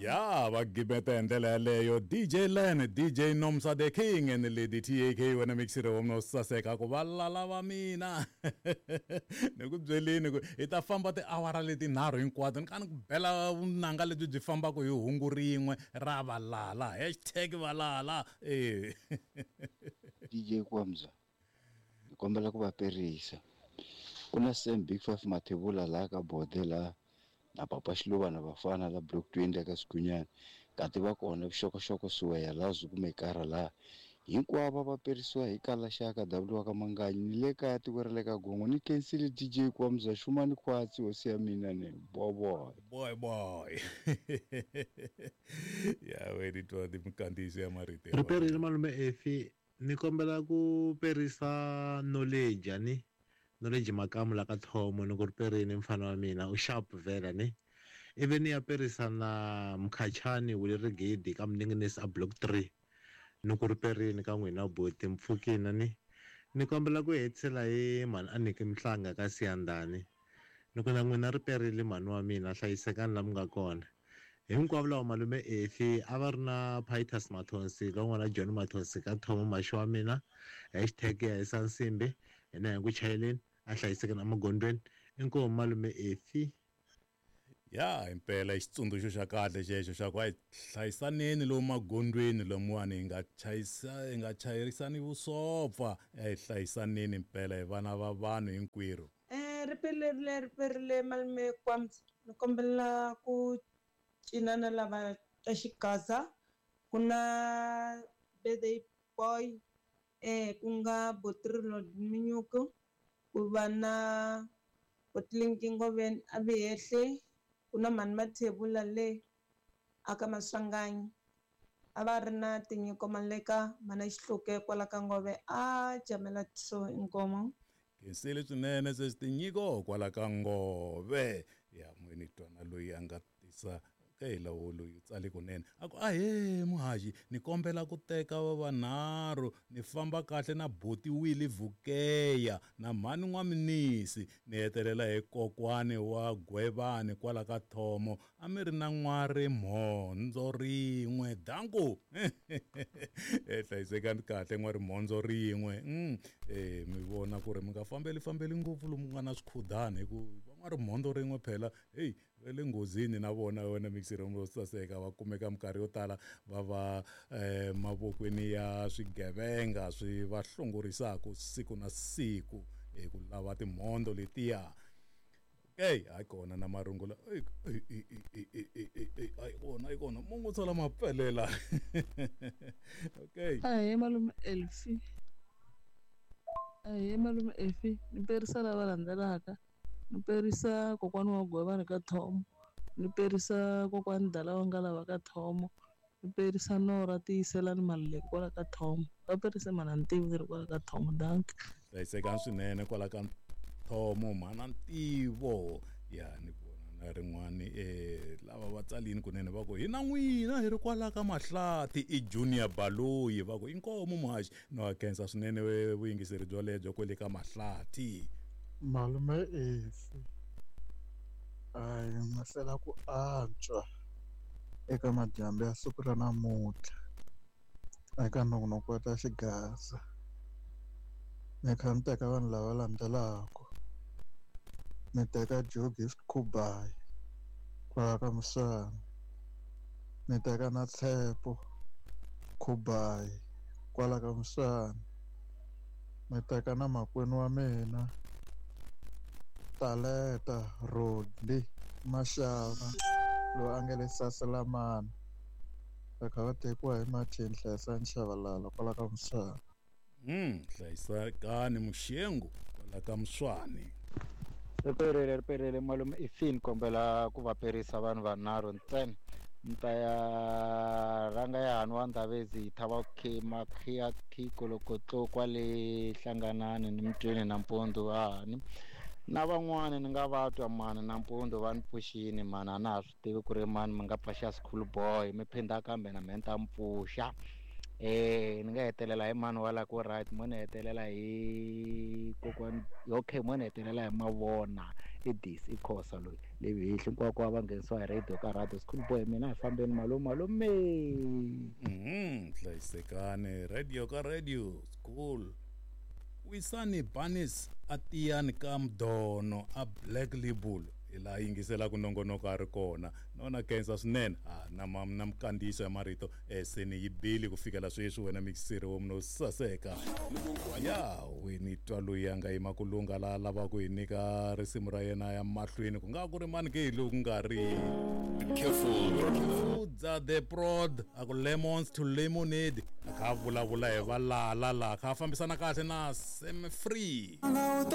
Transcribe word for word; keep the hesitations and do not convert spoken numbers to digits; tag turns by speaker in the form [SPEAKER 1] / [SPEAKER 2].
[SPEAKER 1] Ya va gimeta hi ndlela yaleyo D J Len, D J Nomsa the King and Lady T A K wena mixire wa mina wo saseka ku va lala va mina. Ni ku byelini ku hi ta famba tiawara letinharhu hinkwato ni ka ni ku bela vunanga lebyi byi fambaka hi hungu rin'we ra valala hashtag valala eh.
[SPEAKER 2] D J Kwamza ni kombela ku va perisa ku na Sam Big Five Mathebula laha ka Bode laha na Papa Xiluva na vafana la Block twenty ka Sikunyana kati va kona vuxokoxoko suweya laha zwi kumekara laha hinkwavo va perisiwa hi kala xaka W ka Manganyi ni le kaya tiko ra le ka Gongo ni khensile D J Kwamza Xumani Khwatsi hosi ya mina ne boy
[SPEAKER 1] boy boy ya we di twa di mkandiso ya marito
[SPEAKER 3] ri perile malume Efi ni kombela ku perisa knowledge ani knowledge makamu la ka thomo ni ku ri perini mfana wa mina u sharp vela ni ivi ni ya perisa na Mkhachani wu le rigidi ka Mninginisi a block three ni ku ri perini ka n'wina buti mpfukina ni ni kombela ku hetisela hi mhani a niki Mhlanga ka Siyandhani ni ku na n'wina ri perile mhani wa mina hlayisekani la mi nga kona hinkwavo lava malume Efi a va ri na Pitus Mathonsi lon'wana John Mathonsi ka thomo maxi wa mina hashtag ya hisa nsimbi hina hi ku chayeleni a hlayisekeni emagondzweni inkomu malume Efi.
[SPEAKER 1] Ya impela xitsundzuxo xa kahle xexo xa ku a hi hlayisaneni lomu magondzweni lomuwani hi nga chayisa hi nga chayerisani vusopfa a hi hlayisaneni impela hi vana va vanhu hinkwerhu.
[SPEAKER 4] Eh ri perile ri perile malume Kwamza ni kombela ku cinana lava ta xigaza ku na birthday boy eh ku nga Botrilo Minyuku ku va na Botlinki Ngoveni a Vihehle ku na Mhani Mathebula le aka Maswanganyi a va ri na Tinyiko Maleka mana Xihluke kwala ka Ngove a jamela so inkomo.
[SPEAKER 1] Khensile swinene sesi Tinyiko kwala ka Ngove ya n'wini twana loyi a nga tisa okay lawo loyi tsale kunene a ku ahee muhaxi ni kombela ku teka va vanharhu ni famba kahle na buti Willie Vukeya na mhani N'waminisi ni hetelela hi kokwani wa Gwevani kwala ka Thomo a mi ri na n'wari mhondzo rin'we danku e hlayisekani kahle n'wari mhondzo rin'we mm eh mi vona ku ri mi nga fambeli fambeli ngopfu lomu nga na swikhudani hi ku va n'wari mhondzo rin'we phela hey va le nghozini na vona wena mixiro ro saseka va kumeka minkarhi yo tala va va eh, mavokweni ya swigevenga swi va hlongorisaka siku na siku hi ku lava timhondzo letiya. Okay hayi kona na marungula hayi kona hayi kona mungu tsala mapelela okay
[SPEAKER 5] ahee malume Elfi ahee malume Elfi ni perisa lava landzelaka ni perisa kokwani wa Gwevani ka Thomo ni perisa kokwani Dala wa nga lava ka Thomo ni perisa Nora Tiyiselani Maluleke kwala ka Thomo va perisa mana Ntivo ri kwala ka Thomo danki
[SPEAKER 1] hlayisekani swinene kwala ka Thomo mhana Ntivo ya ni vona na rin'wani eh lava va tsalini kunene va ku hi na n'wina hi ri kwala ka Mahlathi i Junior Baloyi va ku inkomu muhaxi no a khensa swinene vuyingiseri byo lebyo kwele ka Mahlathi.
[SPEAKER 6] Malume Efi a hi mahlela ku antswa eka madyambu ya siku ra namuntlha eka nongonoko wa ta xigaza ni kha ni teka vanhu lava landzelaka ni teka Joe Gift Khubayi kwala ka Muswana ni teka na Tshepo Khubayi kwala ka Muswana ni teka na makwenu wa mina Taleta Rodley Mashava loyi a nga le Saselamani va kha va tekiwa hi Martin Hlayisani Shabalala kwala ka Muswana.
[SPEAKER 1] Mm hlayisekani Muxengu kwala ka Muswani.
[SPEAKER 7] Ri perile ri perile malume Efi ni kombela ku va perisa vanhu vanharhu ntsena ni ta ya rhanga ya hani wa Ndavezi Thaba Makhiya Khikolokotlo kwale Hlanganani ni Mtweni nampundzu hani na van'wani ni nga va twa mani nampundzu va ni pfuxini mani a na ha swi tivi ku ri mani mi nga pfaxa school boy mi phinda kambe na mehe ni ta mi pfuxa eh ni nga hetelela hi mani wala ku right mo ni hetelela hi kokwani okay mo ni hetelela hi Mavona I D C i Khosa loyi le vihli hinkwako va nghenisiwa hi radio ka radio school boy mina hi fambeni malume malume.
[SPEAKER 1] Mhm, hlayisekani radio ka radio school. Wisani Banis a tiyani ka Mdono a Black Label hi laha yingiselaka nongonoko a ri kona nona khensa swinene a na ma na mikandziyiso ya marito eh, se ni yi bile ku fikela sweswi wena mixiri wo munhu saseka ya wini twa loyi a nga yima ku lungha laha lavaka ku hi nyika risimu ra yena ya mahlweni ku nga ku ri mani ke hi loku nga ri Udza the prod a ku lemons to lemonade a kha a vulavula hi valala laha kha a fambisana kahle na Sam Free.